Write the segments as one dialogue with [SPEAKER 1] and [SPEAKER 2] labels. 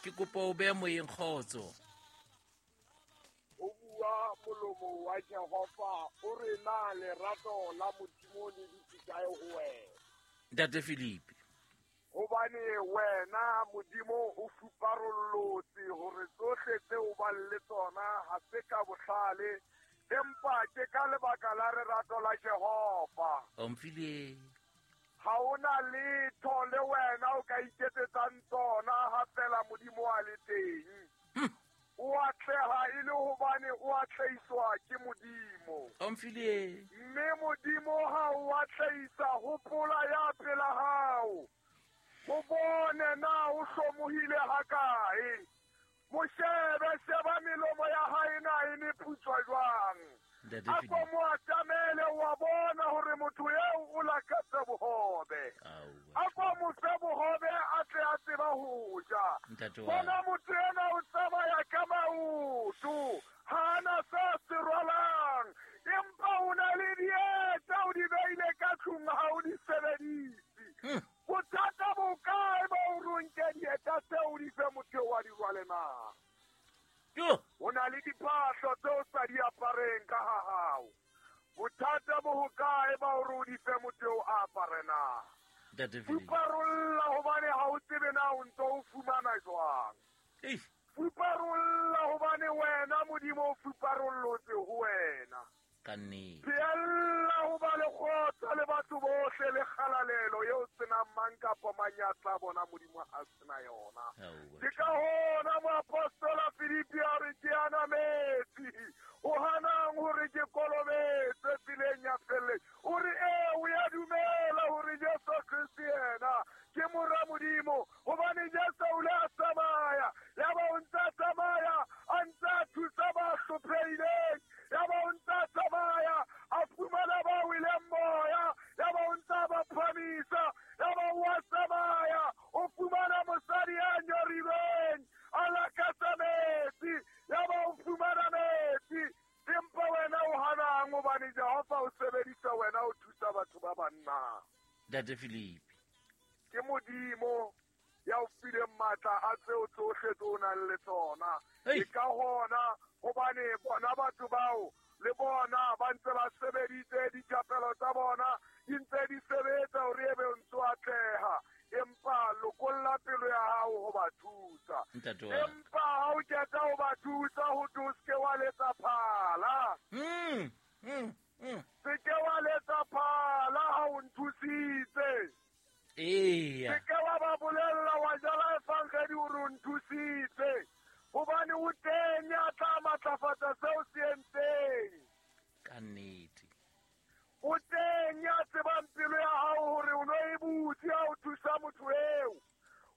[SPEAKER 1] Ke kopa o behe moyeng kgotso.
[SPEAKER 2] Ho bua molomo wa Jehova, o re na lerato la Modimo le dutse kae ho wena?
[SPEAKER 1] Ntate Filipi.
[SPEAKER 2] Hobane wena Modimo o fuparollotse hore tsohle tseo bang le tsona ha se ka bohlale, empa ke ka lebaka la lerato la Jehova.
[SPEAKER 1] Omfile.
[SPEAKER 2] Ha o na letho le wena o ka iketsetsang tsona ha feela Modimo a le teng. O atleha e le hobane o atlehiswa ke Modimo.
[SPEAKER 1] Omfile.
[SPEAKER 2] Mme Modimo ha o atlehisa, hopola ya pela hao. O bone na o hlomohile hakae. Mo shebe, sheba melomo ya hae na e meputswa jwang.
[SPEAKER 1] Ntate
[SPEAKER 2] A ko
[SPEAKER 1] Filipi.
[SPEAKER 2] mo atamele, wa bona hore motho eo o lakatsa bohobe.
[SPEAKER 1] Aowa.
[SPEAKER 2] A ko mo fe bohobe a tle a tseba ho ja.
[SPEAKER 1] Ntate wa
[SPEAKER 2] Bona motho ena o tsamaya ka maoto, ha ana se a se rwalang, empa o na le dieta o di beile ka tlung ha o di sebedise. Bothata bo kae ba hore o nke dieta tseo o di fe motho eo a di rwale na?
[SPEAKER 1] Yo.
[SPEAKER 2] Ho na le diphahlo tseo o sa di apareng ka ha hao. Bothata bo hokae ba hore o di fe motho eo a apare na?
[SPEAKER 1] Ntate Filipi.
[SPEAKER 2] Fuparolla hobane ha o tsebe na o ntso o fumana jwang.
[SPEAKER 1] Eish.
[SPEAKER 2] Fuparolla hobane wena Modimo o fuparollotse ho wena.
[SPEAKER 1] Ka nnete.
[SPEAKER 2] Phehella ho ba le kgotso le batho bohle le kgalalelo eo senang mang kapa mang ya tla bona Modimo a sena yona.
[SPEAKER 1] Aowa.
[SPEAKER 2] Ke ka hona moapostola Filipi a re ke ana metsi, o hanang hore ke kolobetswe tseleng ya felle. O re ee, o ya dumela hore Jesu Kriste yena ke mora Modimo, hobane Jesu o ile a tsamaya, yaba o ntse a tsamaya a ntse a thusa ba hlophehileng, yaba o ntse a tsamaya a fumana ba weleng moya, yaba o ntse a ba phamisa, yaba o a tsamaya o fumana mosadi ya nyorilweng a lakatsa metsi, yaba o fumana metsi. Empa wena o hanang hobane Jehova o sebedisa wena o thusa batho ba banna.
[SPEAKER 1] Ntate Filipi.
[SPEAKER 2] Ke Modimo ya o fileng matla a tseo tsohle tse o nang le tsona.
[SPEAKER 1] Ei.
[SPEAKER 2] Ke ka hona hobane bona batho bao le bona ba ntse ba sebeditse dithapelo tsa bona di ntse di sebetsa hore ebe o ntso atleha, empa lokolla pelo ya hao ho ba thusa.
[SPEAKER 1] Ntate wa ka.
[SPEAKER 2] Empa ha o qeta ho ba thusa, ho thwe o se ke wa letsa phala. Se ke wa letsa phala ha o nthusitse.
[SPEAKER 1] Eya.
[SPEAKER 2] Se ke wa ba bolella wa jala evangedi hore o nthusitse, hobane o teng ya tla matlafatsa seo se entseng.
[SPEAKER 1] Ka nnete.
[SPEAKER 2] O teng ya tsebang pelo ya hao hore o no e butse ha o thusa motho eo.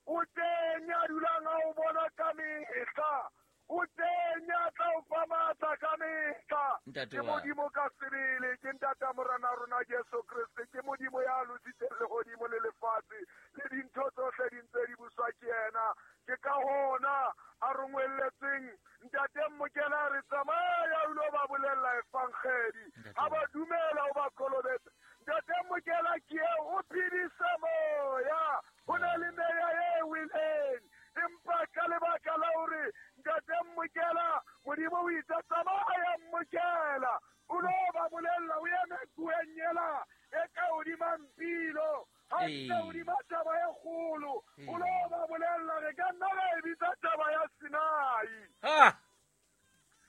[SPEAKER 2] O teng ya dulang a o bona ka mehla. O teng ya tla o fa matla ka mehla.
[SPEAKER 1] Ntate
[SPEAKER 2] Ke
[SPEAKER 1] wa.
[SPEAKER 2] Modimo ka sebele, ke ntata Morena rona Jesu Kriste, ke Modimo ya lositseng lehodimo le lefatshe, le dintho tsohle di ntse di buswa ke yena. Ke ka hona a rongwelletseng ntate Mmokela a re tsamaya o ilo ba bolella evangedi.
[SPEAKER 1] Ntate
[SPEAKER 2] Ha ba
[SPEAKER 1] wa.
[SPEAKER 2] dumela o ba kolobetse. Ntate Mmokela ke eo, o phedise moya. Ho na le meya e weleng, empa ka lebaka la hore ntate Mmokela, Modimo o itse tsamaya Mmokela, o lo ba bolella, o eme kueng ela e ka hodima mpilo, ha ntse
[SPEAKER 1] Ee.
[SPEAKER 2] hodima taba e kgolo, o lo
[SPEAKER 1] Ee.
[SPEAKER 2] ba bolella, re ka nna ra e bitsa taba ya Sinai.
[SPEAKER 1] Ha.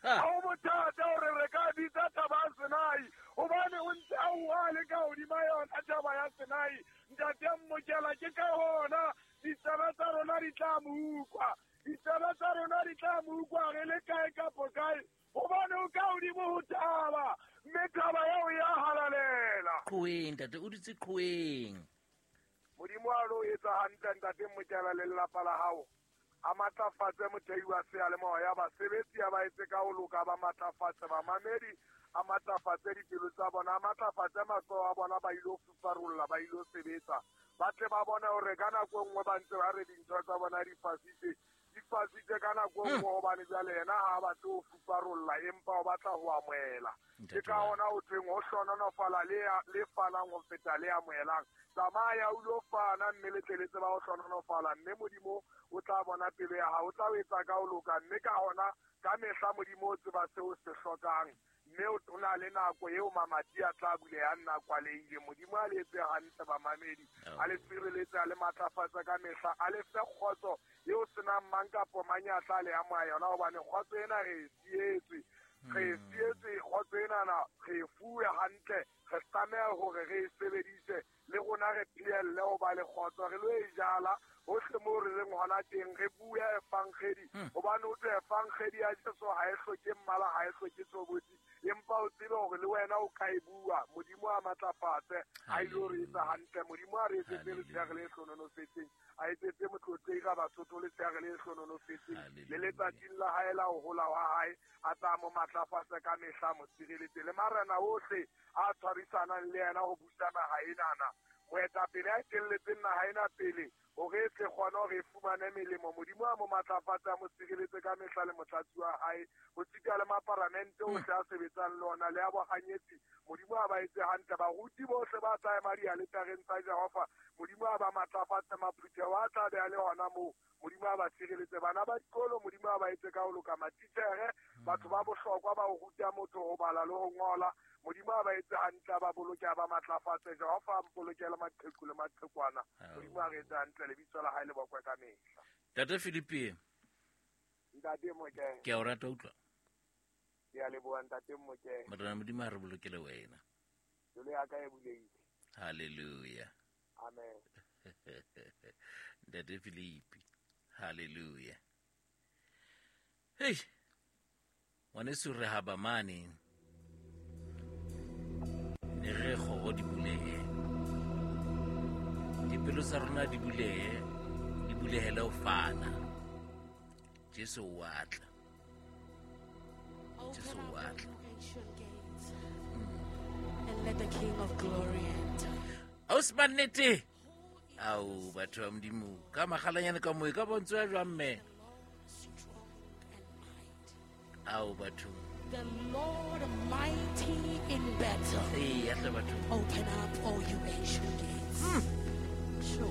[SPEAKER 1] Ha.
[SPEAKER 2] Ha ho bothata hore re ka bitsa taba ya Sinai, hobane o ntse a bua le ka hodima yona taba ya Sinai. Ntate Mmokela, ke ka hona ditsebe tsa rona di tla mo utlwa. Ditsebe tsa rona di tla mo utlwa re le kae kapo kae, hobane o ka hodimo ho thaba, mme thaba eo ya halalela.
[SPEAKER 1] Qhoweng, ntate, o dutse qhoweng.
[SPEAKER 2] Modimo a lo etsa hantle, ntate Mmokela, le lelapa la hao. A matlafatse mothei wa seyalemoya, basebetsi a ba etse ka ho loka, ba matlafatse bamamedi, a matlafatse dipelo tsa bona, a matlafatse matsoho a bona, ba ilo fuparolla, ba ilo sebetsa. Ba tle ba bone hore ka nako e nngwe ba ntse ba re dintho tsa bona di fasitse, nthifasitse ka nako e nngwe hobane jwale yena ha a batle ho fuparolla empa o batla ho amohela. Ke ka hona ho thweng ho hlononofala le fanang ho feta le amohelang. Tsamaya o lo fana mme le tle le tseba ho hlononofala, mme Modimo o tla bona pelo ya hao, o tla o etsa ka ho loka, mme ka hona ka mehla Modimo o tseba seo se hlokang, mme o na le nako eo mamati a tla bulehang nna kwalehile. Modimo a le etse hantle bamamedi, a le sireletse, a le matlafatsa ka mehla, a le fe kgotso eo senang mang kapo mang ya tla le amoha yona, hobane kgotso ena re e sietswe. Re e sietswe kgotso enana, re e fuwe hantle, re tlameha hore re e sebedise le rona re phehelle ho ba le kgotso, re lo e jala hohle moo re leng hona teng, re bue evangedi, hobane o tswe evangedi ya Jesu ha e hloke mmala, ha e hloke tshobotsi, empa o tsebe hore le wena o ka e bua. Modimo a matlafatse, a ile re etsa hantle. Modimo a re etsetse letshehare le hlononofetseng, a etsetse motlotlegi ga Basotho letshehare le hlononofetseng, le letsatsing la hae la ho hola wa hae, a tla mo matlafatse ka mehla, mo sireletse le marena ohle a tshwarisanang le yena ho busa naha enana. Moetapele a etelletseng naha ena pele hore e tle kgone hore e fumane melemo, Modimo a mo matlafatse, a mo sireletse ka mehla le motlatsi wa hae, ho sita le maparamente ohle a sebetsang le ona le a bohanyetsi, Modimo a ba etse hantle. Baruti bohle ba tla ema dialetareng tsa Jehova, Modimo a ba matlafatse. Maphutheho a tla be a le hona moo, Modimo a ba sireletse. Bana ba dikolo, Modimo a ba etse ka ho loka. Matitjhere, batho ba bohlokwa ba ho ruta motho ho bala le ho ngola, Modimo a ba etse hantle, a ba boloke, a ba matlafatse. Jehova a mpolokele maqheku le maqhekwana. Modimo a re etse hantle, lebitso la hae le bokwe ka mehla.
[SPEAKER 1] Ntate Philippe.
[SPEAKER 2] Ntate Mokeng.
[SPEAKER 1] Ke a o rata utlwa.
[SPEAKER 2] Ke a leboha Ntate Mokeng.
[SPEAKER 1] Morena Modimo a re bolokele wena.
[SPEAKER 2] Pelo ya ka e bulehile.
[SPEAKER 1] Hallelujah.
[SPEAKER 2] Amen.
[SPEAKER 1] Ntate Philippe. Hallelujah. Hey. Ngwaneso re haba mane. Ne re kgoro di bulehe. Dipelo tsa rona di bulehe, di bulehele ho fana. Jesu o a tla. Jesu o a tla.
[SPEAKER 3] And let the King of Glory enter.
[SPEAKER 1] Ausi ba nnete. Ao batho ba Modimo, ka magalanyane ka moe ka bontsho ya jwang mme? Ao batho.
[SPEAKER 3] The Lord mighty in battle.
[SPEAKER 1] Ee, ya tle batho.
[SPEAKER 3] Open up all you ancient gates. Sure.